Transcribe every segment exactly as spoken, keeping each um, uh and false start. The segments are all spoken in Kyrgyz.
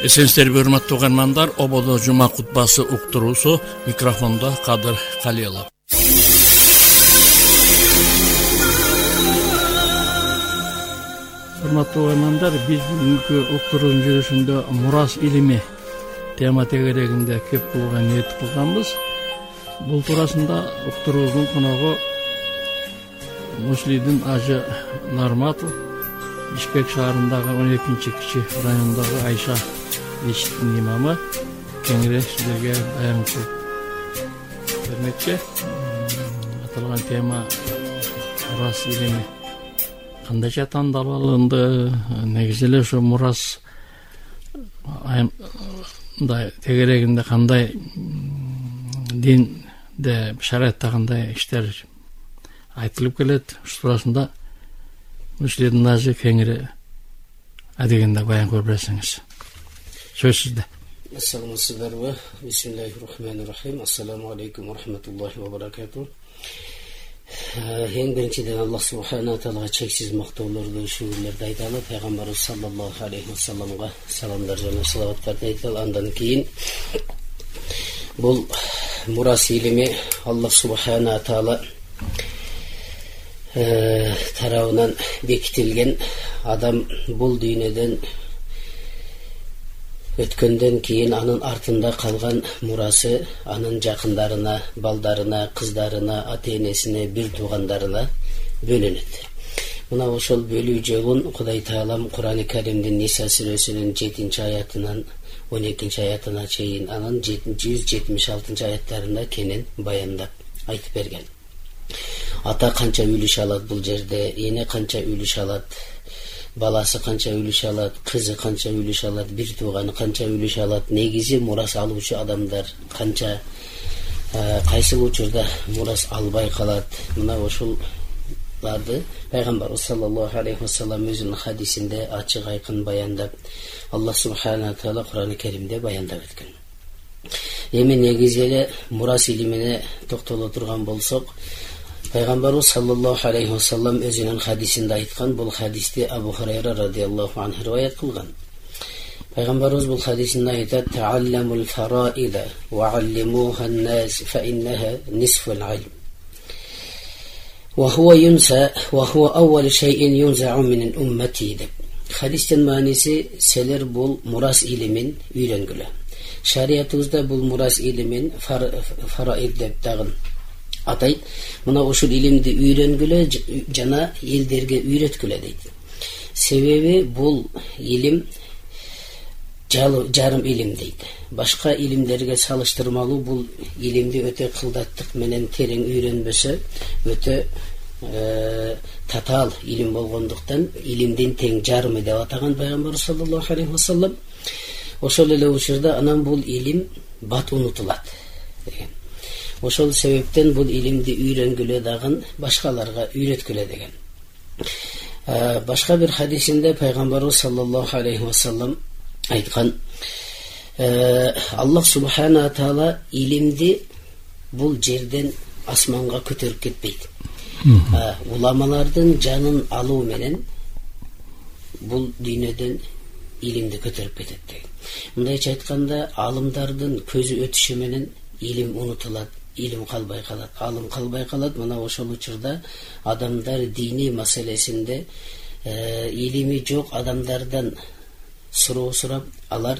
Эсенсиздерби урматтуу угармандар, ободо жума кутбасы уктуруусу, микрофондо Кадыр Калилов. Урматтуу угармандар, биз бүгүнкү уктуруунун жүрүшүндө мурас илими тема тегерегинде кеп кылууга ниет кылганбыз. Бул туурасында уктуруубуздун коногу Муслийдин ажы Нарматов, Бишкек шаарындагы он экинчи кичи райондогу Айша мечитинин имамы. Кеңири сиздерге баян кылып бермекчи. Аталган тема мурас илими кандайча тандалып алынды, негизи эле ушу мурас мындай тегерегинде кандай динде, шариатта кандай иштер айтылып келет, ушу туурасында Муслийдин ажы кеңири адегенде баян кылып берсеңиз. Сөз сизде. Ассаламу Бисмиллахир-рахманир-рахим. Ассаламу алейкум ва рахматуллахи ва баракатух. Эң биринчиден Аллах субхана таалага чексиз мактоолорду, шүгүрлөрдү айталы, пайгамбарыбыз саллаллаху алейхи ва салламга саламдар жана салаваттарды айталы. Андан кийин бул мурас илими Аллах субхана таала тарабынан бекитилген. Адам бул дүйнөдөн өткөндөн кийин анын артында калган мурасы анын жакындарына, балдарына, кыздарына, ата-энесине, бир туугандарына бөлүнөт. Мына ошол бөлүү жолун Кудай Таалам Кур'ан-ы Каримдин Ниса сүрөсүнүн жетинчи аятынан он экинчи аятына чейин, анын жүз жетимиш алтынчы аяттарында кенен баяндап айтып берген. Ата канча үлүш алат бул жерде, эне канча үлүш алат, баласы канча үлүш алат, кызы канча үлүш алат, бир тууганы канча үлүш алат, негизи мурас алуучу адамдар канча, кайсыл учурда мурас албай калат. Мына ошоларды пайгамбарыбыз саллаллаху алейхи ва саллам өзүнүн хадисинде ачык айкын баяндап, Аллах субхана таала Кур'ан-ы Каримде баяндап өткөн. Эми негизи эле мурас илимине токтоло турган болсок, пайгамбарыбыз саллаллаху алейхи ва саллам өзүнүн хадисинде айткан, бул хадисти Абу Хурайра радиаллаху анху риваят кылган. Пайгамбарыбыз бул хадисинде айтат: "Таалламул фараида ва аллимуха ан-нас фа иннаха нисфул илм. Ва хува юнса ва хува аввал шай'ин юнзау мин уммати." деп. Хадистин мааниси, силер бул мурас илимин үйрөнгүлө. Шариятыбызда бул мурас илимин фараид деп дагы атайт. Мына ушул илимди үйрөнгүлө жана элдерге үйрөткүлө дейт. Себеби бул илим жарым илим дейт. Башка илимдерге салыштырмалуу бул илимди өтө кылдаттык менен терең үйрөнбөсө, өтө татаал илим болгондуктан илимдин тең жарымы деп атаган пайгамбар саллаллаху алейхи ва саллам. Ошол эле учурда анан бул илим бат унутулат деген. Ошол себептен бул илимди үйрөнгүлө дагы башкаларга үйрөткүлө деген. Башка бир хадисинде пайгамбарыбыз саллаллаху алейхи ва саллам айткан: Аллах субхана таала илимди бул жерден асманга көтөрүп кетпейт. Уламалардын жанын алуу менен бул дүйнөдөн илимди көтөрүп кетет деген. Мындайча айтканда, алымдардын көзү өтүшү менен илим унутулат, илим калбай калат, алым калбай калат. Мына ошол учурда адамдар дини маселесинде илими жок адамдардан суроо сурап, алар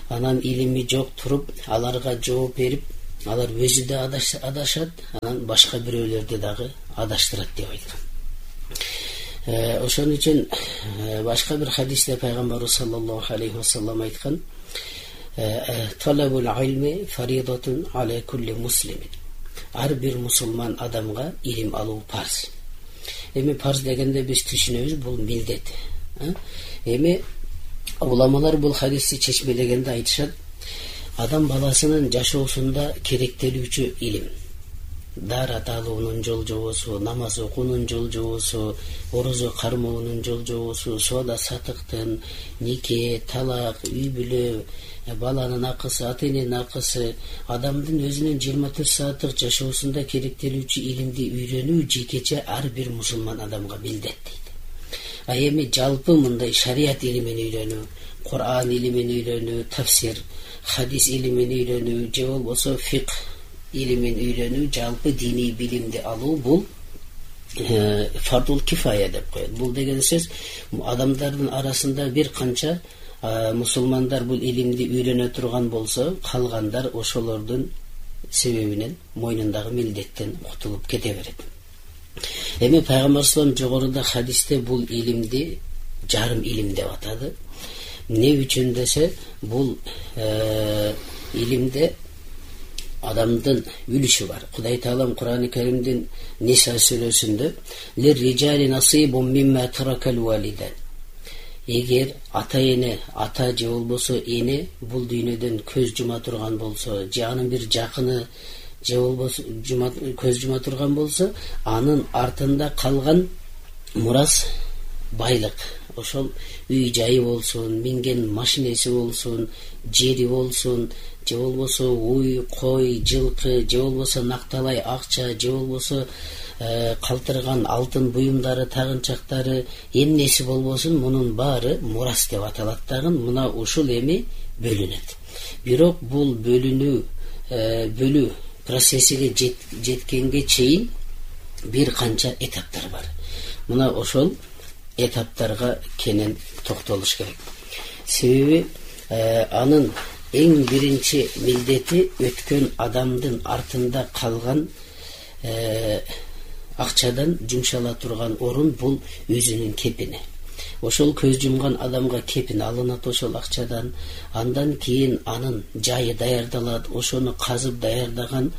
анан илими жок туруп, аларга жооп берип, алар өзү да адашат, анан башка бирөөлөрдү дагы адаштырат деп айткан. Ошон үчүн башка бир хадисте пайгамбарыбыз саллаллаху алейхи ва саллам айткан: "Талабул илми фаридатун аля кулли муслимин." Ар бир мусулман адамга илим алуу парз. Эми парз дегенде биз түшүнөбүз, бул милдет. Эми уламалар бул хадисти чечмелегенде айтышат: адам баласынын жашоосунда керектелүүчү илим, даарат алуунун жол жобосу, намаз окуунун жол жобосу, орозо кармоонун жол жобосу, соода сатыктын, нике, талак, үй бүлө, баланын акысы, ата-эненин акысы, адамдын өзүнүн жыйырма төрт сааттык жашоосунда керектелүүчү илимди үйрөнүү жекече ар бир мусулман адамга милдет дейт. А эми жалпы мындай шарият илимин үйрөнүү, Кур'ан илимин үйрөнүү, тафсир, хадис илимин үйрөнүү, же болбосо фикх илимин үйрөнүү, жалпы диний билимди алуу бул фардул кифая деп коет. Бул деген сөз адамдардын арасында бир канча мусулмандар бул илимди үйрөнө турган болсо, калгандар ошолордун себебинен мойнундагы милдеттен кутулуп кете берет. Эми пайгамбар саллаллаху жогоруда хадисте бул илимди жарым илим деп атады. Не үчүн десе, бул илимде адамдын үлүшү бар. Кудай Таалам Кур'ан-ы Каримдин Ниса сүрөсүндө лер rijali nasibun mimma tarakal walidan. Эгер ата эне, ата же болбосо эне бул дүйнөдөн көз жума турган болсо, же анын бир жакыны же болбосо көз жума турган болсо, анын артында калган мурас байлык, ошол үй жайы болсун, минген машинеси болсун, жери болсун, же болбосо уй, кой, жылкы, же болбосо накталай акча, же болбосо калтырган алтын буюмдары, тагынчактары, эмнеси болбосун, мунун баары мурас деп аталат дагы. Мына ушул эми бөлүнөт. Бирок бул бөлүнүү бөлүү процессиге жеткенге чейин бир канча этаптар бар. Мына ошол этаптарга кенен токтолуш керек. Себеби анын эң биринчи милдети өткөн адамдын артында калган акчадан жумшала турган орун бул өзүнүн кепини. Ошол көз жумган адамга кепин алынат ошол акчадан. Андан кийин анын жайы даярдалат, ошону казып даярдаган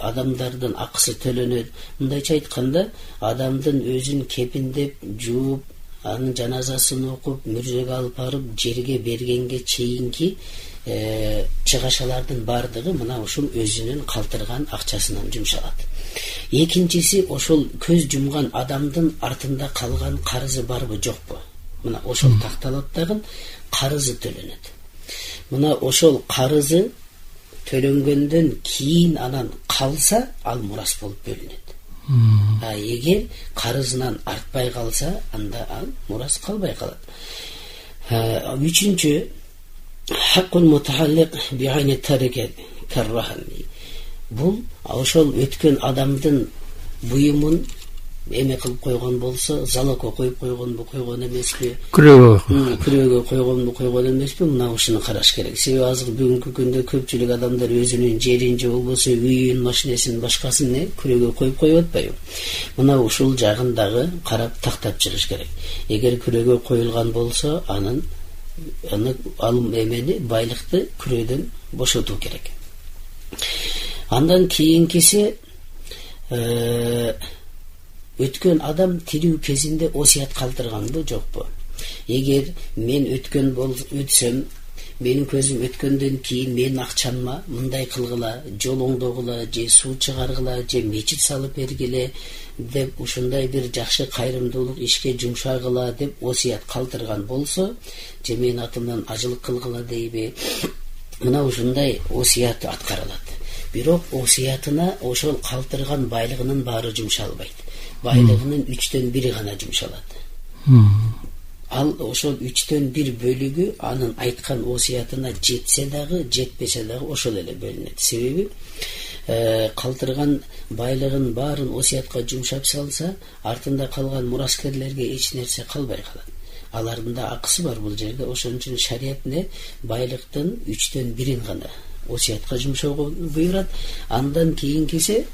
адамдардын акысы төлөнөт. Мындайча айтканда, адамдын өзүн кепиндеп, жууп, анын жаназасын окуп, мүрзөгө алып барып жерге бергенге чейинки чыгашалардын бардыгы мына ушул өзүнүн калтырган акчасынан жумшалат. Экинчиси, ошол көз жумган адамдын артында калган карызы барбы жокпу? Мына ошол такталат дагы, карызы төлөнөт. Мына ошол карызы төлөнгөндөн кийин анан калса, ал мурас болуп бөлүнөт. А эгер карызынан артпай калса, анда ал мурас калбай калат. Үчүнчү, хаккул мутааллик би'айни тарика каррахан. Бул ошол өткөн адамдын буюмун эме кылып койгон болсо, залогко коюп койгонбу, койгон эмеспи? Күрөөгө. Күрөөгө койгонбу, койгон эмеспи? Мына ушуну караш керек. Себеби азыр бүгүнкү күндө көпчүлүк адамдар өзүнүн жерин же болбосо үйүн, машинесин, башкасын күрөөгө коюп коюп атпайбы? Мына ушул жагын дагы карап тактап чыгыш керек. Эгер күрөөгө коюлган болсо, анын аны алым эмени, байлыкты күрөөдөн бошотуу керек. Андан кийинкиси, өткөн адам тирүү кезинде осуят калтырганбы, жокпу? Эгер мен өткөн өтсөм, менин көзүм өткөндөн кийин менин акчамма мындай кылгыла, жол оңдогула, же суу чыгаргыла, же мечит салып бергиле деп ушундай бир жакшы кайрымдуулук ишке жумшагыла деп осуят калтырган болсо, же менин атымдан ажылык кылгыла дейби? Мына ушундай осуят аткарылат. Бирок осуятына ошол калтырган байлыгынын баары жумшалбайт. Байлыгынын үчтөн бири гана жумшалат. Ал ошол үчтөн бир бөлүгү анын айткан осуятына жетсе дагы, жетпесе дагы ошол эле бөлүнөт. Себеби калтырган байлыгын баарын осуятка жумшап салса, артында калган мураскерлерге эч нерсе калбай калат. Алардын да акысы бар бул жерде. Ошон үчүн шарият не байлыктын үчтөн бирин гана осуятка жумшоого буйрат. Андан кийинкиси,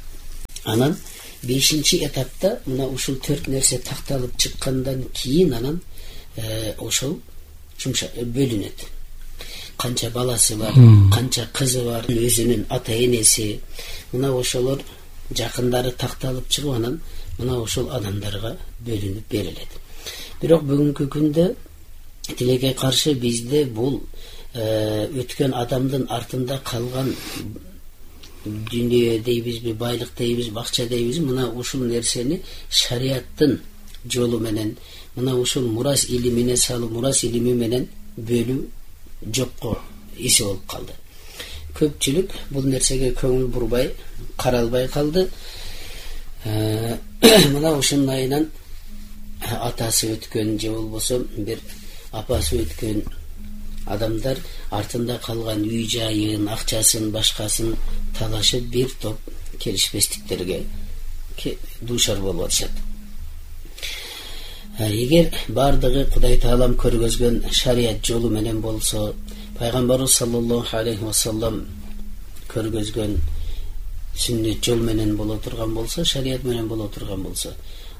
анан бешинчи этапта мына ушул төрт нерсе такталып чыккандан кийин анан ошол жумша бөлүнөт. Канча баласы бар, канча кызы бар, өзүнүн ата энеси, мына ошолор жакындары такталып чыгып, анан мына ошол адамдарга бөлүнүп берилет. Бирок бүгүнкү күндө тилекке каршы бизде бул өткөн адамдын артында калган дүйнө дейбизби, байлык дейбизби, акча дейбизби, мына ушул нерсени шариаттын жолу менен, мына ушул мурас илимине салып, мурас илими менен бөлүү жокко эси болуп калды. Көпчүлүк бул нерсеге көңүл бурбай, каралбай калды. Мына ушунун айынан атасы өткөн же болбосо бир апасы өткөн, адамдар артында калган үй жайын, акчасын, башкасын талашып бир топ келишпестиктерге дуушар болуп атышат. Эгер бардыгы Кудай Таалам көргөзгөн шарият жолу менен болсо, пайгамбарыбыз саллаллаху алейхи вассалам көргөзгөн сүннет жол менен боло турган болсо, шарият менен боло турган болсо,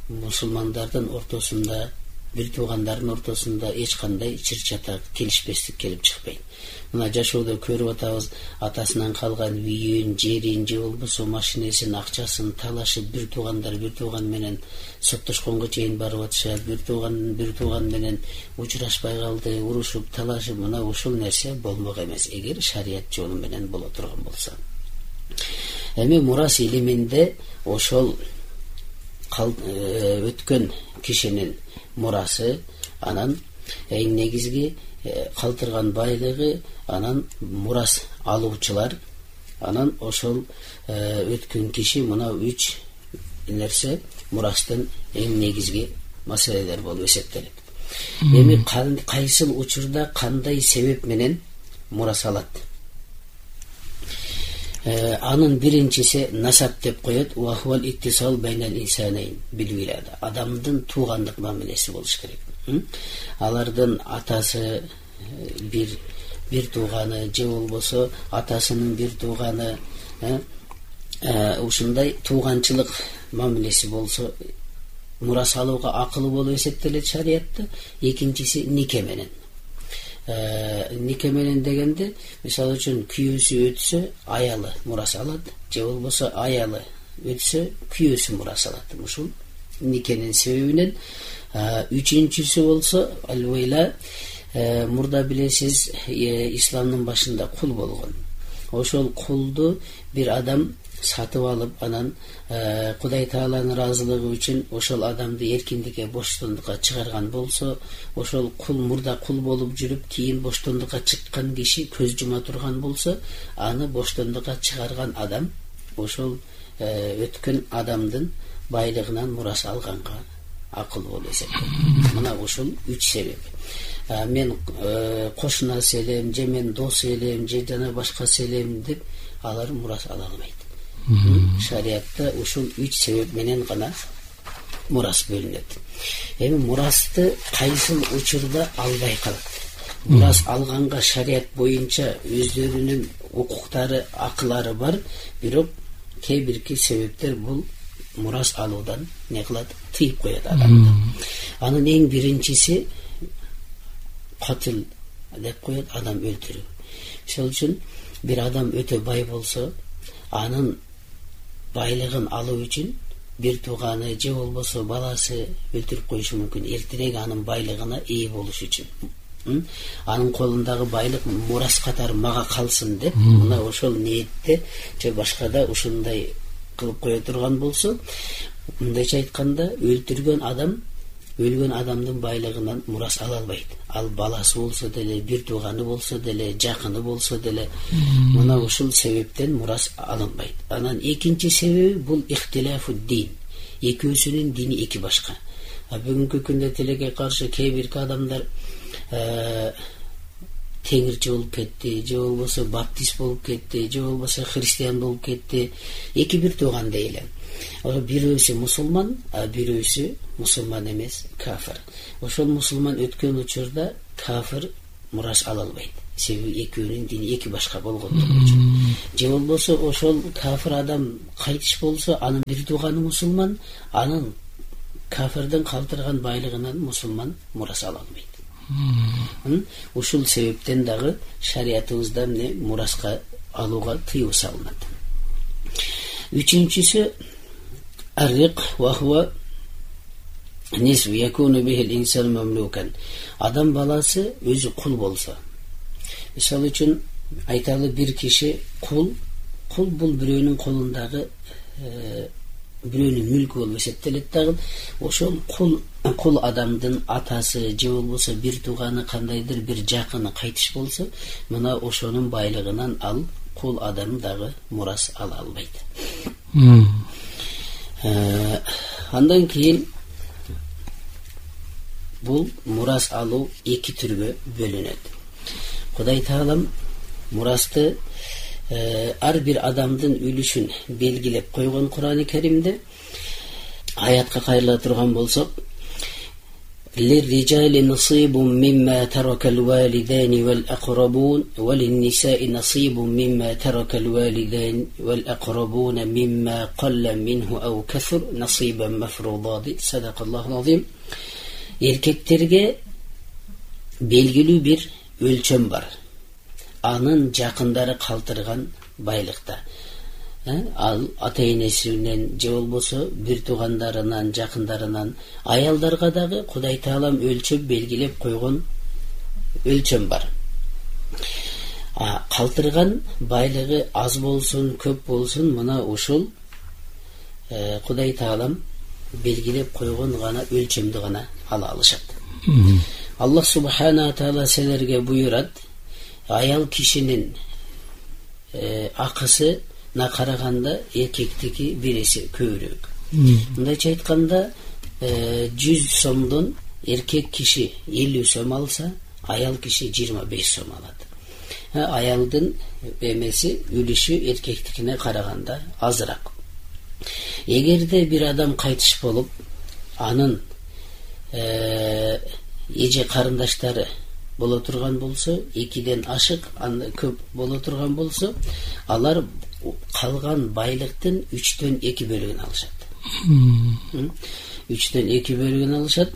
мусулмандардын ортосунда, бир туугандардын ортосунда эч кандай чыр-чатак, келишпестик келип чыкпайт. Мына жашоодо көрүп атабыз, атасынан калган үйүн, жерин, же болбосо машинесин, акчасын талашып, бир туугандар бир тууган менен соттошконго чейин барып атышат, бир тууган бир тууган менен учурашпай калды, урушуп, талашып, мына ушул нерсе болмок эмес, эгер шарият жолу менен боло турган болсо. Эми мурас илиминде ошол өткөн кишинин мурасы, анан эң негизги калтырган байлыгы, анан мурас алуучулар, анан ошол өткөн киши, мына үч нерсе мурастын эң негизги маселелер болуп эсептелет. Эми кайсыл учурда кандай себеп менен мурас алат? Анын биринчиси насап деп коет. Уахвал иттисал байнал инсанайн бил вилада. Адамдын туугандык мамилеси болуш керек. Алардын атасы бир бир тууганы, же болбосо атасынын бир тууганы, ушундай тууганчылык мамилеси болсо, мурас алууга акылы болуп эсептелет шариятта. Экинчиси нике менен. Нике менен дегенде, мисалы үчүн күйөөсү өтсө, аялы мурас алат, же болбосо аялы өтсө, күйөөсү мурас алат. Ушул никенин себебинен. Үчүнчүсү болсо, алвайла, мурда билесиз, исламдын башында кул болгон. Ошол кулду бир адам сатып алып, анан Кудай Тааланын ыраазылыгы үчүн ошол адамды эркиндикке, боштондукка чыгарган болсо, ошол кул мурда кул болуп жүрүп, кийин боштондукка чыккан киши көз жума турган болсо, аны боштондукка чыгарган адам ошол өткөн адамдын байлыгынан мурас алганга акыл болуп эсептелет. Мына ушул үч себеп. Мен кошунасы элем, же мен дос элем, же жана башкасы элем деп алар мурас ала албайт. Шариятта ушул үч себеп менен гана мурас бөлүнөт. Эми мурасты кайсыл учурда албай калат? Мурас алганга шарият боюнча өздөрүнүн укуктары, акылары бар, бирок кээ бирки себептер бул мурас алуудан не кылат? Тыйып коет адамды. Анын эң биринчиси катыл деп коет, адам өлтүрүү. Ошол үчүн бир адам өтө бай болсо, анын байлыгын алуу үчүн бир тууганы же болбосо баласы өлтүрүп коюшу мүмкүн, эртерээк анын байлыгына ээ болуш үчүн. Анын колундагы байлык мурас катары мага калсын деп, мына ошол ниетте же башкада ушундай кылып кое турган болсо, мындайча айтканда, өлтүргөн адам өлгөн адамдын байлыгынан мурас ала албайт. Ал баласы болсо деле, бир тууганы болсо деле, жакыны болсо деле, мына ушул себептен мурас алынбайт. Анан экинчи себеби бул ихтилафу дин. Экөөсүнүн дини эки башка. Бүгүнкү күндө тилекке каршы кээ бирки адамдар теңирчи болуп кетти, же болбосо баптист болуп кетти, же болбосо христиан болуп кетти. Эки бир тууган дейли. Бирөөсү мусулман, а бирөөсү мусулман эмес, кафир. Ошол мусулман өткөн учурда кафир мурас ала албайт. Себеби экөөнүн дини эки башка болгондугу үчүн. Же болбосо ошол кафир адам кайтыш болсо, анын бир тууганы мусулман, анын кафирдин калтырган байлыгынан мусулман мурас ала албайт. Ушул себептен дагы шариятыбызда эмне мураска алууга тыюу салынат. Үчүнчүсү аррик ва хува нисф якуну бихил инсан мамлукан. Адам баласы өзү кул болсо. Мисалы үчүн айталы бир киши кул, кул бул бирөөнүн колундагы бирөөнүн мүлкү болуп эсептелет дагы. Ошол кул кул адамдын атасы же болбосо бир тууганы, кандайдыр бир жакыны кайтыш болсо, мына ошонун байлыгынан ал кул адам дагы мурас ала албайт. Андан кийин бул мурас алуу эки түргө бөлүнөт. Кудай Таалам мурасты ар бир адамдын үлүшүн белгилеп койгон Кур'ан-ы Керимде. Аятка кайрыла турган болсок, للرجال نصيب مما ترك الوالدان والأقربون وللنساء نصيب مما ترك الوالدان والأقربون مما قل منه أو كثر نصيبا مفروضا. صدق الله العظيم. Erkekтерге белгилүү бир өлчөм бар. Анын жакындары калтырган байлыкта. Ал ата-энесинен же болбосо бир туугандарынан, жакындарынан, аялдарга дагы Кудай Таалам өлчөп белгилеп койгон өлчөм бар. А калтырган байлыгы аз болсун, көп болсун, мына ушул Кудай Таалам белгилеп койгон гана өлчөмдү гана ала алышат. Аллах субхана таала силерге буйрат, аял кишинин акысы на караганда эркектики биресе көбүрөөк. Мындайча айтканда, жүз сомдон эркек киши элүү сом алса, аял киши жыйырма беш сом алат. Аялдын эмеси, үлүшү эркектикине караганда азыраак. Эгерде бир адам кайтыш болуп, анын эже карындаштары боло турган болсо, экиден ашык, анда көп боло турган болсо, алар калган байлыктын үчтөн эки бөлүгүн алышат. үчтөн эки бөлүгүн алышат.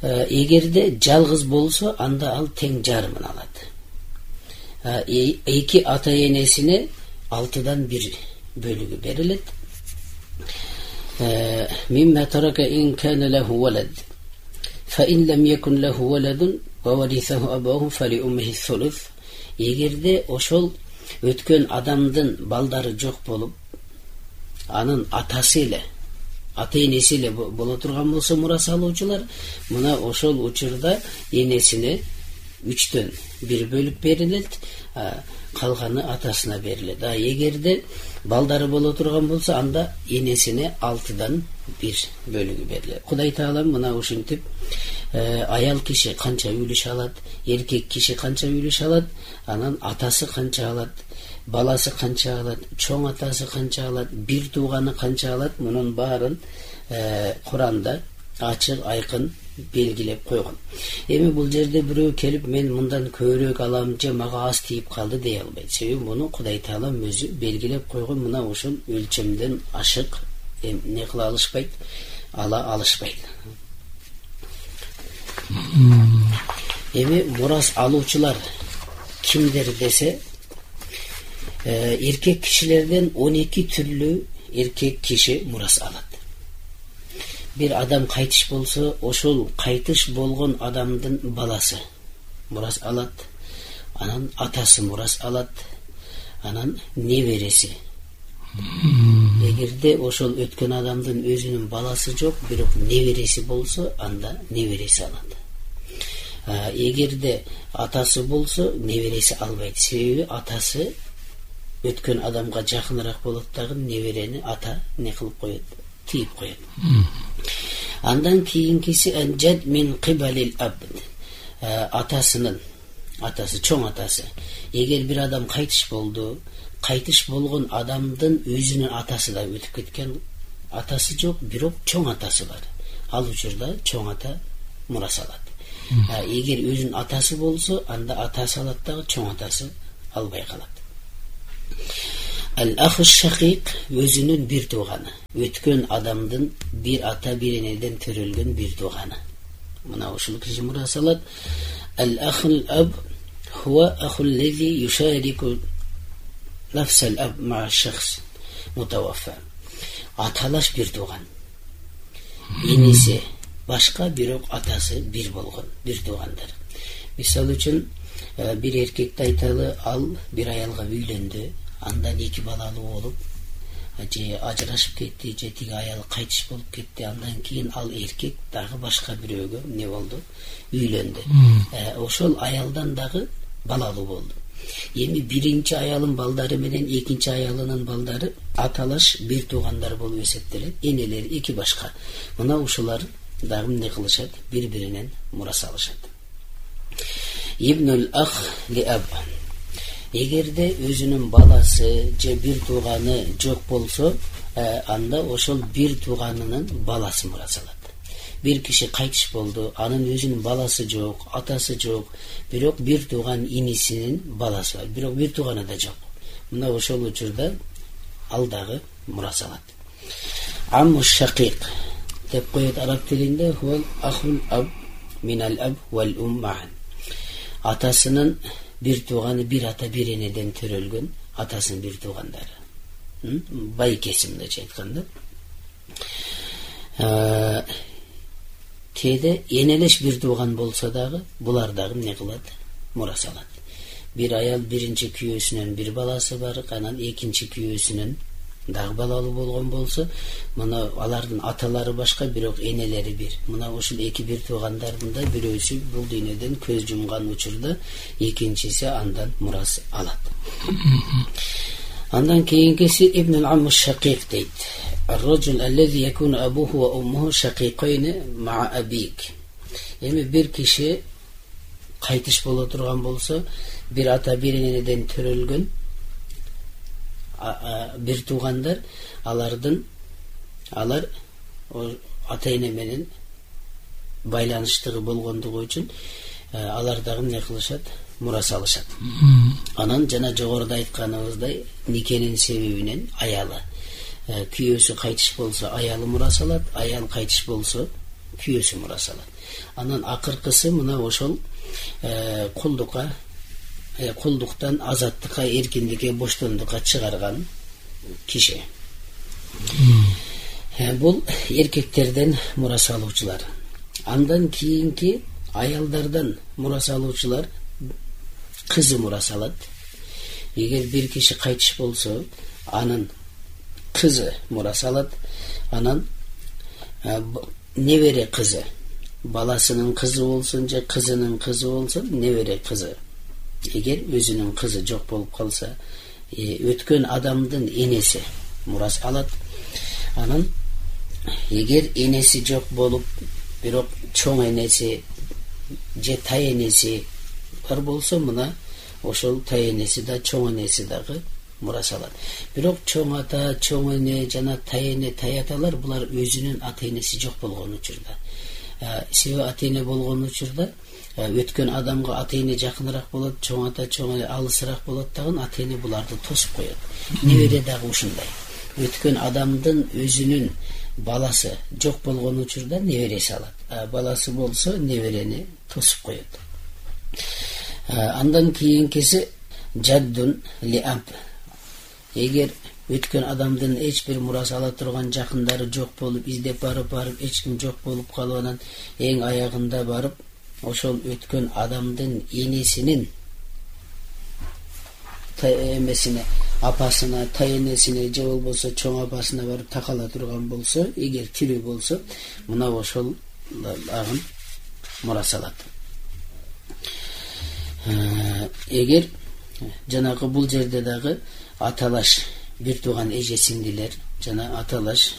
Эгерде жалгыз болсо, анда ал тең жарымын алат. Эки ата-энесине алтыдан бир бөлүгү берилет. Мимма тарака ин кана лаху валад фа ин лам якун лаху валадун ва варисаху абаху фали уммихи сулус. Эгерде ошол өткөн адамдын балдары жок болуп, анын атасы эле, ата-энеси эле боло турган болсо мурас алуучулар, мына ошол учурда энесине үчтөн бир бөлүп берилет, калганы атасына берилет. А эгерде балдары боло турган болсо, анда энесине алтыдан бир бөлүгү берилет. Кудай Таалам мына ушинтип, аял киши канча үлүш алат, эркек киши канча үлүш алат, анан атасы канча алат, баласы канча алат, чоң атасы канча алат, бир тууганы канча алат, мунун баарын Куранда ачык айкын белгилеп койгон. Эми бул жерде бирөө келип, мен мындан көбүрөөк алам же мага аз тийип калды дей албайт. Себеби муну Кудай Таалам өзү белгилеп койгон. Мына ушул өлчөмдөн ашык эмне кыла алышпайт, ала алышпайт. Эми мурас алуучулар кимдер десе, эркек кишилерден он эки түрлүү эркек киши мурас алат. Бир адам кайтыш болсо, ошол кайтыш болгон адамдын баласы мурас алат, анан атасы мурас алат, анан небереси. Эгерде ошол өткөн адамдын өзүнүн баласы жок, бирок небереси болсо, анда небереси алат. Эгерде атасы болсо, небереси албайт. Себеби атасы өткөн адамга жакыныраак болот дагы, неберени ата не кылып коет, тийип коет. Андан кийинкиси анжад мин кибалил абд. Атасынын, атасы, чоң атасы. Эгер бир адам кайтыш болду, кайтыш болгон адамдын өзүнүн атасы да өтүп кеткен, атасы жок, бирок чоң атасы бар. Ал учурда чоң ата мурас алат. Эгер өзүнүн атасы болсо, анда атасы алат дагы, чоң атасы албай калат. Ал-аху шакик өзүнүн бир тууганы, өткөн адамдын бир ата бир энеден төрөлгөн бир тууганы. Мына ушул киши мурас алат. Ал-ахул аб хуа ахул лези юшарику нафсал аб ма шахс мутаваффа. Аталаш бир тууган. Энеси башка, бирок атасы бир болгон бир туугандар. Мисалы үчүн бир эркекти айталы, ал бир аялга үйлөндү, андан эки балалуу болуп, же ажырашып кетти, же тиги аял кайтыш болуп кетти, андан кийин ал эркек дагы башка бирөөгө не болду, үйлөндү. Ошол аялдан дагы балалуу болду. Эми биринчи аялын балдары менен экинчи аялынын балдары аталаш бир туугандар болуп эсептелет, энелери эки башка. Мына ушулар дагы эмне кылышат, бири-биринен мурас алышат. ибнул ах ли аб. Эгерде өзүнүн баласы же бир тууганы жок болсо, анда ошол бир тууганынын баласы мурас алат. Бир киши кайтыш болду, анын өзүнүн баласы жок, атасы жок, бирок бир тууган инисинин баласы бар, бирок бир тууганы да жок. Мына ошол учурда ал дагы мурас алат. Амму шакик деп коет араб тилинде, хуал ахул аб минал аб вал ум маан. Атасынын бир тууганы, бир ата бир энеден төрөлгөн атасынын бир туугандары. Бай кесимдечи айтканда. Кээде энелеш бир тууган болсо дагы булар дагы эмне кылат? Мурас алат. Бир аял биринчи күйөөсүнөн бир баласы бар, анан экинчи күйөөсүнөн дагы балалуу болгон болсо, мына алардын аталары башка, бирок энелери бир. Мына ушул эки бир туугандардын да бирөөсү бул дүйнөдөн көз жумган учурда экинчиси андан мурас алат. Андан кийинкиси ибнул амм шакик дейт. الرجل الذي يكون أبوه وأمه شقيقين مع أبيك. Эми бир киши кайтыш боло турган болсо, бир ата бир энеден төрөлгөн бир туугандар, алардын алар ата эне менен байланыштыгы болгондугу үчүн алар дагы эмне кылышат? Мурас алышат. Анан жана жогоруда айтканыбыздай, никенин себебинен аялы, күйөөсү кайтыш болсо аялы мурас алат, аял кайтыш болсо күйөөсү мурас алат. Анан акыркысы мына ошол кулдукка, кулдуктан азаттыкка, эркиндикке, боштондукка чыгарган киши. Бул эркектерден мурас алуучулар. Андан кийинки аялдардан мурас алуучулар кызы мурас алат. Эгер бир киши кайтыш болсо, анын кызы мурас алат. Анан небере кызы, баласынын кызы болсун же кызынын кызы болсун, небере кызы. Эгер өзүнүн кызы жок болуп калса, өткөн адамдын энеси мурас алат. Анан эгер энеси жок болуп, бирок чоң энеси же тай энеси бар болсо, мына ошол тай энеси да чоң энеси дагы мурас алат. Бирок чоң ата, чоң эне жана тай эне, тай аталар булар өзүнүн ата энеси жок болгон учурда, себеби ата эне болгон учурда өткөн адамга ата эне жакыныраак болот, чоң ата, чоң эне алысыраак болот дагы, ата эне буларды тосуп коет. Небере дагы ушундай. Өткөн адамдын өзүнүн баласы жок болгон учурда небереси алат. Баласы болсо неберени тосуп коет. Андан кийинкиси жаддун ли аб. Эгер өткөн адамдын эч бир мурас ала турган жакындары жок болуп, издеп барып барып эч ким жок болуп калып, анан эң аягында барып ошол өткөн адамдын энесинин эмесине, апасына, тай энесине же болбосо чоң апасына барып такала турган болсо, эгер тирүү болсо, мына ошол агын мурас алат. Эгер жанагы бул жерде дагы аталаш бир тууган эже сиңдилер жана аталаш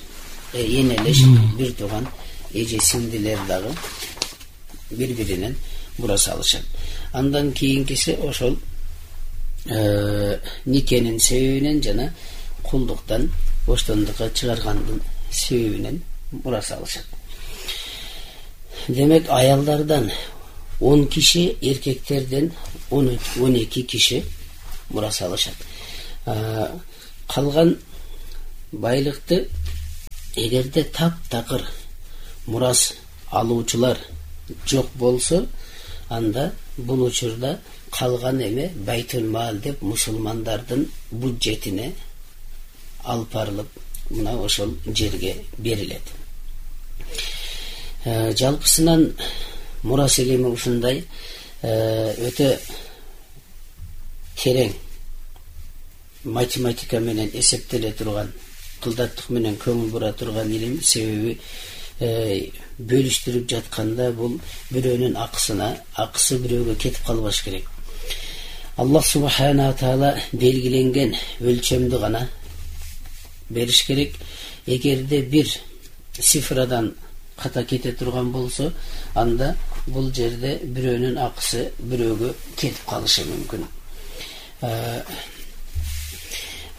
энелеш бир тууган эже сиңдилер дагы бири-биринен мурас алышат. Андан кийинкиси ошол никенин себебинен жана кулдуктан боштондукка чыгаргандын себебинен мурас алышат. Демек аялдардан он киши, эркектерден он эки киши мурас алышат. Калган байлыкты эгерде таптакыр мурас алуучулар жок болсо, анда бул учурда калган эме байтул мал деп мусулмандардын бюджетине алып барылып, мына ошол жерге берилет. Жалпысынан мурас илими ушундай өтө терең, математика менен эсептеле турган, кылдаттык менен көңүл бура турган илим. Себеби бөлүштүрүп жатканда бул бирөөнүн акысына, акысы бирөөгө кетип калбаш керек. Аллах субхана таала белгиленген өлчөмдү гана бериш керек. Эгерде бир цифрадан ката кете турган болсо, анда бул жерде бирөөнүн акысы бирөөгө кетип калышы мүмкүн.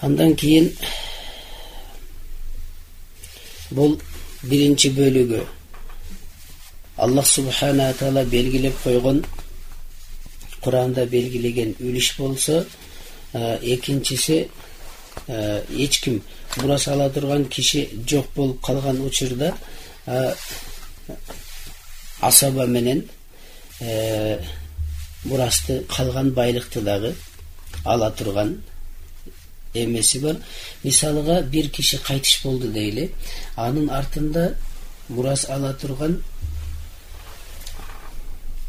Андан кийин бул биринчи бөлүгү Аллах субхана таала белгилеп койгон, Куранда белгилеген үлүш болсо, экинчиси эч ким мурас ала турган киши жок болуп калган учурда асаба менен мурасты, калган байлыкты дагы ала турган эмеси бар. Мисалыга бир киши кайтыш болду дейли, анын артында мурас ала турган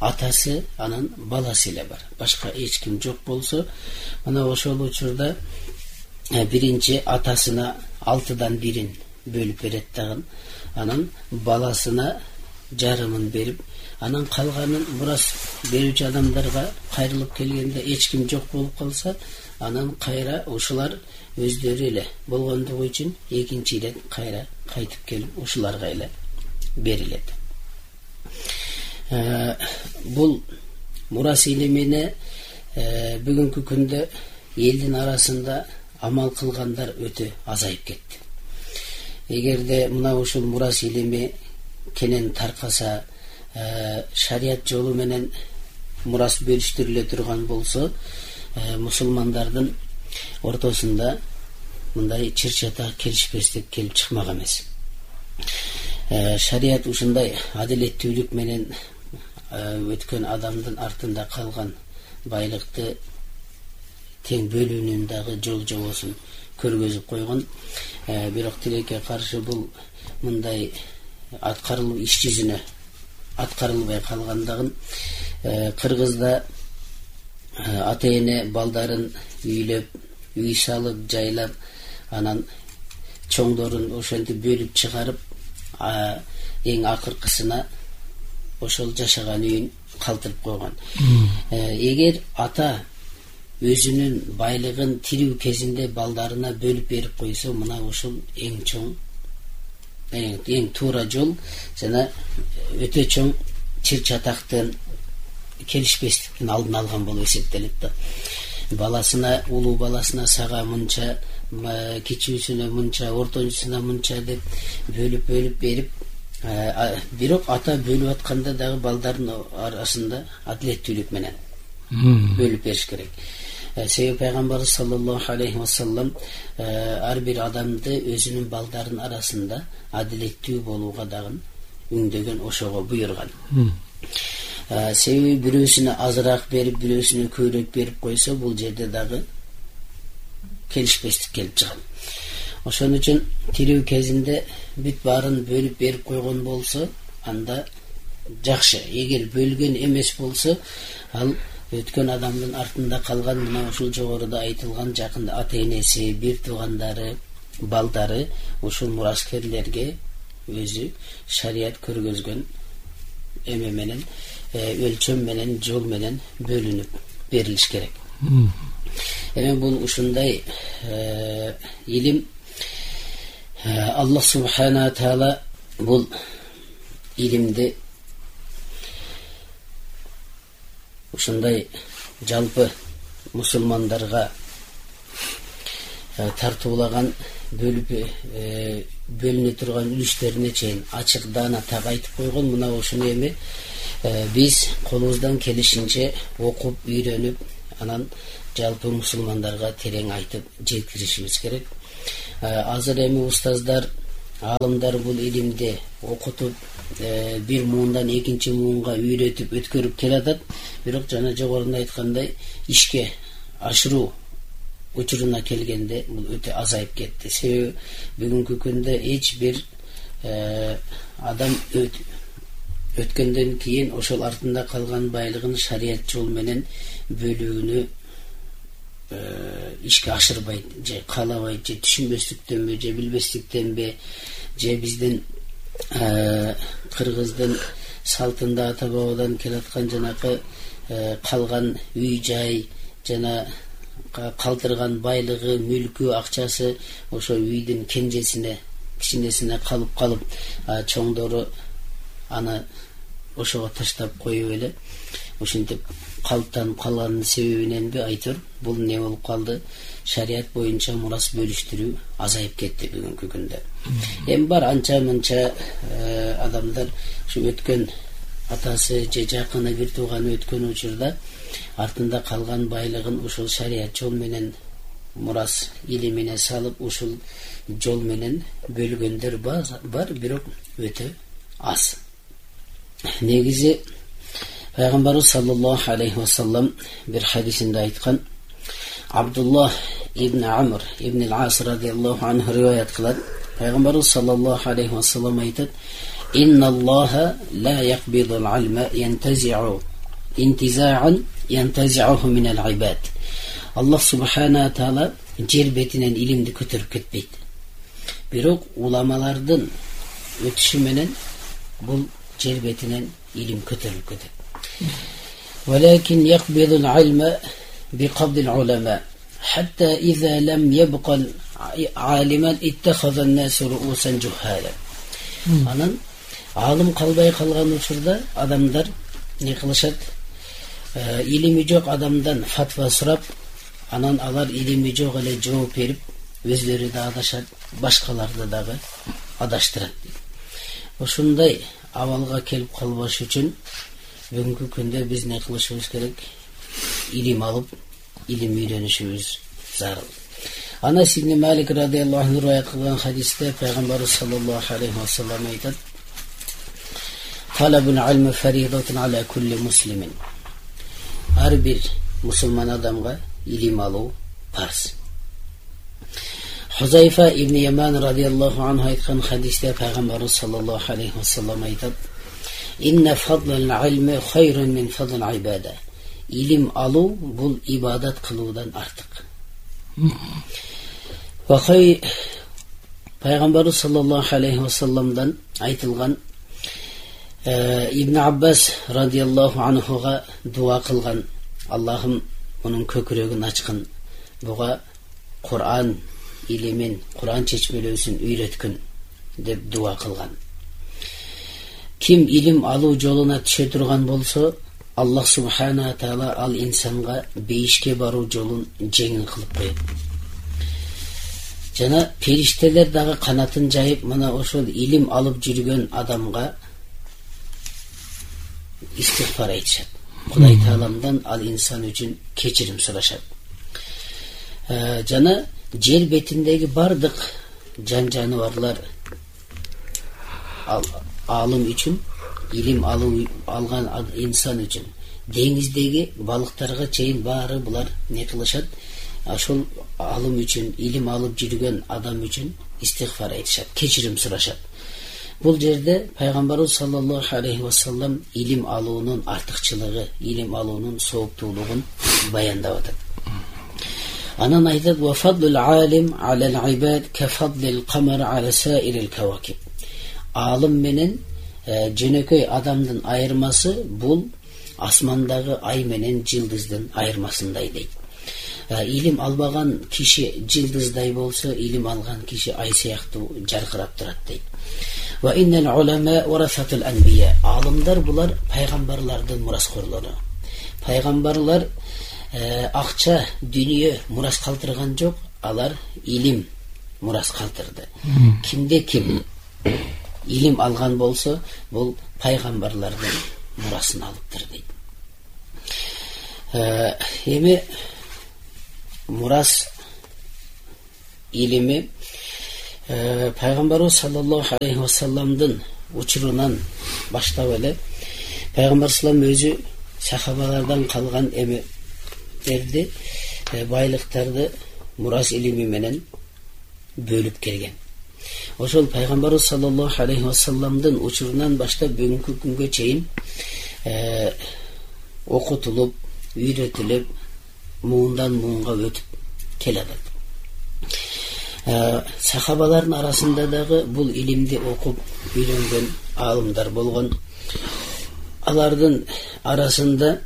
атасы, анын баласы эле бар. Башка эч ким жок болсо, мына ошол учурда биринчи атасына алтыдан бирин бөлүп берет дагы, анан баласына жарымын берип, анан калганын мурас берүүчү адамдарга кайрылып келгенде эч ким жок болуп калса, анан кайра ушулар өздөрү эле болгондугу үчүн экинчи ирет кайра кайтып келип ушуларга эле берилет. Бул мурас илимине бүгүнкү күндө элдин арасында амал кылгандар өтө азайып кетти. Эгерде мына ушул мурас илими кенен таркаса, шарият жолу менен мурас бөлүштүрүлө турган болсо, мусулмандардын ортосунда мындай чыр-чатак, келишпестик келип чыкмак эмес. Шарият ушундай адилеттүүлүк менен өткөн адамдын артында калган байлыкты тең бөлүүнүн дагы жол жобосун көргөзүп койгон. Бирок тилекке каршы бул мындай аткарылуу иш жүзүнө аткарылбай калгандыгын, Кыргызда ата эне балдарын үйлөп, үй салып, жайлап, анан чоңдорун ошентип бөлүп чыгарып, эң акыркысына ошол жашаган үйүн калтырып койгон. Эгер ата өзүнүн байлыгын тирүү кезинде балдарына бөлүп берип койсо, мына ушул эң чоң, эң туура жол жана өтө чоң чыр-чатактын, келишпестиктин алдын алган болуп эсептелет да. Баласына, улуу баласына сага мынча, кичүүсүнө мынча, ортончусуна мынча деп бөлүп бөлүп берип, бирок ата бөлүп атканда дагы балдардын арасында адилеттүүлүк менен бөлүп бериш керек. Себеби пайгамбарыбыз саллаллаху алейхи вассалам ар бир адамды өзүнүн балдарынын арасында адилеттүү болууга дагы үндөгөн, ошого буйруган. Себеби бирөөсүнө азыраак берип, бирөөсүнө көбүрөөк берип койсо, бул жерде дагы келишпестик келип чыгат. Ошон үчүн тирүү кезинде бүт баарын бөлүп берип койгон болсо, анда жакшы. Эгер бөлгөн эмес болсо, ал өткөн адамдын артында калган мына ушул жогоруда айтылган жакын ата энеси, бир туугандары, балдары ушул мураскерлерге өзү шарият көргөзгөн эме менен, өлчөм менен, жол менен бөлүнүп берилиш керек. Эми бул ушундай илим. Аллах субхана таала бул илимди ушундай жалпы мусулмандарга тартуулаган, бөлүп бөлүнө турган үлүштөрүнө чейин ачык даана так айтып койгон. Мына ушуну эми биз колубуздан келишинче окуп, үйрөнүп, анан жалпы мусулмандарга терең айтып жеткиришибиз керек. Азыр эми устаздар, аалымдар бул илимди окутуп, бир муундан экинчи муунга үйрөтүп, өткөрүп келатат. Бирок жана жогоруда айткандай, ишке ашыруу учуруна келгенде бул өтө азайып кетти. Себеби бүгүнкү күндө эч бир адам өткөндөн кийин ошол артында калган байлыгын шарият жол менен бөлүүнү ишке ашырбайт, же каалабайт, же түшүнбөстүктөнбү, же билбестиктенби, же биздин Кыргыздын салтында ата бабадан келаткан жанакы калган үй жай жана калтырган байлыгы, мүлкү, акчасы ошо үйдүн кенжесине, кичинесине калып калып, чоңдору аны ошого таштап коюп эле ушинтип калыптанып калганын себебиненби айтор бул не болуп калды, шарият боюнча мурас бөлүштүрүү азайып кетти бүгүнкү күндө. Эми бар анча мынча адамдар ушу өткөн атасы же жакыны бир тууганы өткөн учурда артында калган байлыгын ушул шарият жол менен мурас илимине салып ушул жол менен бөлгөндөр бар, бирок өтө аз. Негизи Пайгамбарыбыз саллаллаху алейхи ва саллам бир хадисинде айткан, Абдуллах ибн Амр ибн ал-Ас радиаллаху анху риваят кылат. Пайгамбарыбыз саллаллаху алейхи ва саллам айтат: "Инналлаха ла яқбидул алма янтази'у интиза'ан янтази'уху минал ибад." Аллах субхана таала жер бетинен илимди көтөрүп кетпейт. Бирок уламалардын өтүшү менен бул жер бетинен илим көтөрүлүп кетет. Валакин яқбидул алма биқабдил улама хатта иза лам ябқа алиман иттахаза ан-насу руусан жухала. Анан алым калбай калган учурда адамдар не кылышат? Илими жок адамдан фатва сурап, анан алар илими жок эле жооп берип, өзлөрү да адашат, башкаларды дагы адаштырат. Ошондой абалга келип калбаш үчүн бүгүнкү күндө биз не кылышыбыз керек? Илим алып, илим үйрөнүшүбүз зарыл. Анас ибн Малик радиаллаху анху риwayat кылган хадисте Пайгамбарыбыз саллаллаху алейхи ва саллам айтат: "Талабул илми фаридатун аля кулли муслимин." Ар бир мусулман адамга илим алуу парз. Хузайфа ибн Яман радиаллаху анху айткан хадисте Пайгамбарыбыз саллаллаху алейхи ва саллам айтат: "Инна фадлал илми хайрун мин фадлил ибада." Илим алуу бул ибадат кылуудан артык. Вахай Пайгамбарыбыз саллаллаху алейхи ва салламдан айтылган Ибн Аббас радиаллаху анхуга дуа кылган: "Аллахым мунун көкүрөгүн ачкын, буга Кур'ан илимин, Кур'ан чечмелөөсүн үйрөткүн" деп дуа кылган. Ким илим алуу жолуна түшө турган болсо, Аллах субхана таала ал инсанга бейишке баруу жолун жеңил кылып коет. Жана периштелер дагы канатын жайып, мына ошол илим алып жүргөн адамга истигфар айтышат. Кудай тааламдан ал инсан үчүн кечирим сурашат. Жана жер бетиндеги бардык жан жаныбарлар алым үчүн, илим алуу алган инсан үчүн, деңиздеги балыктарга чейин баары булар не кылышат? Ошол алым үчүн, илим алып жүргөн адам үчүн истигфар айтышат, кечирим сурашат. Бул жерде Пайгамбарыбыз саллаллаху алейхи ва саллам илим алуунун артыкчылыгы, илим алуунун сооптуулугун баяндап атат. Анан айтат: "Ва фадлул алим алал ибад ка фадлил камар ала саирил кавакиб." Алым менен жөнөкөй адамдын айырмасы бул асмандагы ай менен жылдыздын айырмасындай дейт. Илим албаган киши жылдыздай болсо, илим алган киши ай сыяктуу жаркырап турат дейт. Ва иннал улама варасатул анбия. Алымдар булар пайгамбарлардын мураскорлору. Пайгамбарлар акча, дүнүйө мурас калтырган жок, алар илим мурас калтырды. Кимде ким илим алган болсо, бул пайгамбарлардын мурасын алыптыр дейт. Эми мурас илими Пайгамбарыбыз саллаллаху алейхи ва салламдын учурунан баштап эле Пайгамбар салам өзү сахабалардан калган эмелерди, байлыктарды мурас илими менен бөлүп келген. Ошол Пайгамбарыбыз саллаллаху алейхи ва салламдын учурунан баштап бүгүнкү күнгө чейин окутулуп, үйрөтүлүп, муундан муунга өтүп келатат. Сахабалардын арасында дагы бул илимди окуп үйрөнгөн алымдар болгон. Алардын арасында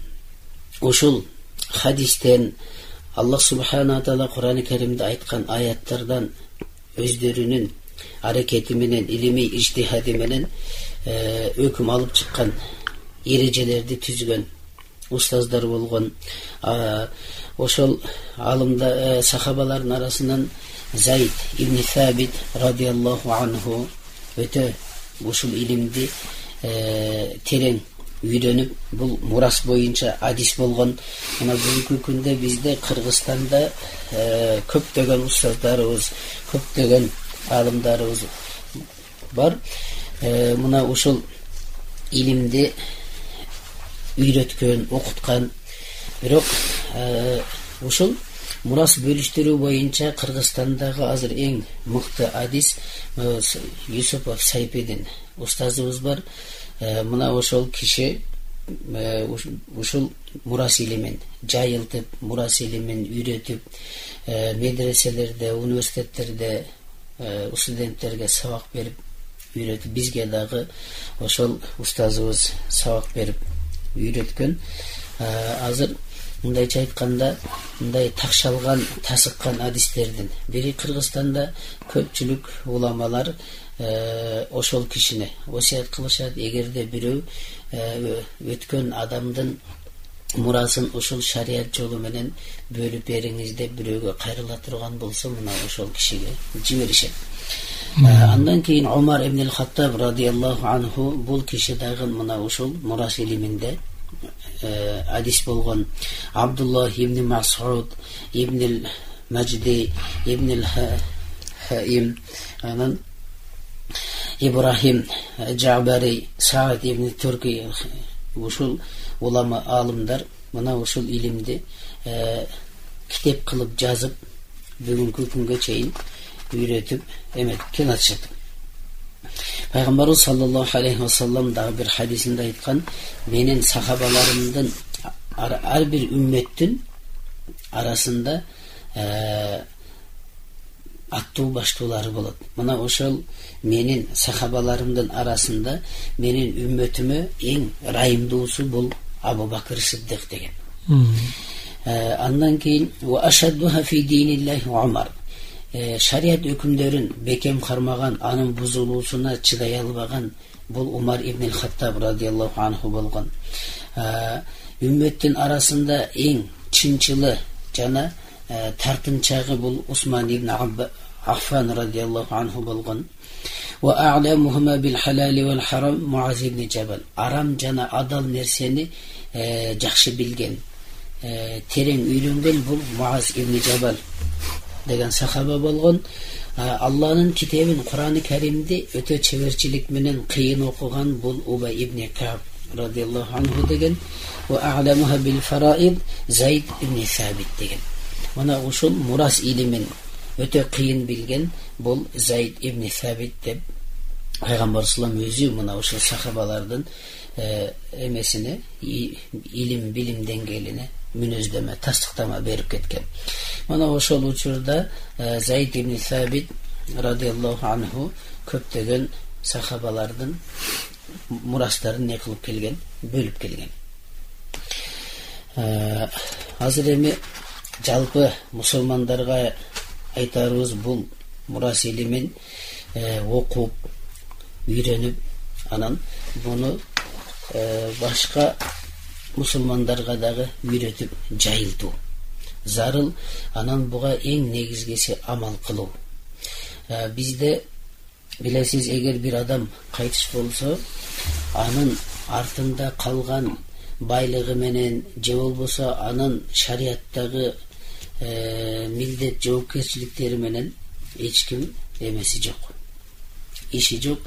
ушул хадистен, Аллах субхана таала Кур'ан-ы Каримде айткан аяттардан өздөрүнүн аракети менен, илимий иҗтихади менен өкүм алып чыккан, эрежелерди түзгөн устаздар болгон. Ошол алымда сахабалардын арасынан Зайд ибн Сабит радиаллаху анху өтө ушул илимди терең үйрөнүп, бул мурас боюнча адис болгон. Мына бүгүнкү күндө бизде Кыргызстанда көптөгөн устаздарыбыз, көптөгөн алымдарыбыз бар. Мына ушул илимди үйрөткөн, окуткан. Бирок ушул мурас бөлүштүрүү боюнча Кыргызстандагы азыр эң мыкты адис Юсупов Сайпедин устазыбыз бар. Мына ошол киши ушул мурас илимин жайылтып, мурас илимин үйрөтүп, медреселерде, университеттерде студенттерге сабак берип үйрөтүп, бизге дагы ошол устазыбыз сабак берип үйрөткөн. Азыр мындайча айтканда, мындай такшалган, тасыккан адистердин бири Кыргызстанда көпчүлүк уламалар ошол кишини осуят кылышат. Эгерде бирөө өткөн адамдын мурасын ушул шарият жолу менен бөлүп бериңиз деп бирөөгө кайрыла турган болсо, мына ошол кишиге жиберишет. Андан кийин Умар ибн Хаттаб радиаллаху анху, бул киши дагы мына ушул мурас илиминде адис болгон. Абдуллах ибн Мас'уд, ибн Маджди, ибн Хаим, анан Ибрахим Джабари, Саад ибн Турки, ушул улама алымдар мына ушул илимди китеп кылып жазып, бүгүнкү күнгө чейин үйрөтүп эметип келатышат. Пайгамбарыбыз саллаллаху алейхи ва саллам дагы бир хадисинде айткан: менин сахабаларымдын ар бир үммөттүн арасында аттуу баштуулары болот. Мына ошол менин сахабаларымдын арасында менин үммөтүмө эң ырайымдуусу бул Абу Бакыр Сиддик деген. Андан кийин ва ашаддуха фи диниллахи Умар. Шарият өкүмдөрүн бекем кармаган, анын бузулуусуна чыдай албаган бул Умар ибн Хаттаб радиаллаху анху болгон. Үммөттүн арасында эң чынчылы жана тартынчагы бул Усман ибн Аффан радиаллаху анху болгон. Ва а'ламухума бил халали вал харам Муаз ибн Жабал. Арам жана адал нерсени жакшы билген, терең үйрөнгөн бул Муаз ибн Жабал деген сахаба болгон. Алланын китебин, Кур'ан-ы Каримди өтө чеберчилик менен кыйын окуган бул Убай ибн Каб радиаллаху анху деген. Ва а'ламуха бил фараид Зайд ибн Сабит деген. Мына ушул мурас илимин өтө кыйын билген бул Зайд ибн Сабит деп Пайгамбар саллаллаху алейхи ва саллям өзү мына ушул сахабалардын эмесине, илим билим деңгээлине мүнөздөмө, тастыктама берип кеткен. Мына ошол учурда Зайд ибн Сабит радиаллаху анху көптөгөн сахабалардын мурастарын не кылып келген, бөлүп келген. Азыр эми жалпы мусулмандарга айтарыбыз бул мурас илимин окуп, үйрөнүп, анан буну башка мусулмандарга дагы үйрөтүп жайылтуу зарыл. Анан буга эң негизгиси амал кылуу. Бизде билесиз, эгер бир адам кайтыш болсо, анын артында калган байлыгы менен же болбосо анын шариаттагы милдет жоопкерчиликтери менен эч ким эмеси жок, иши жок.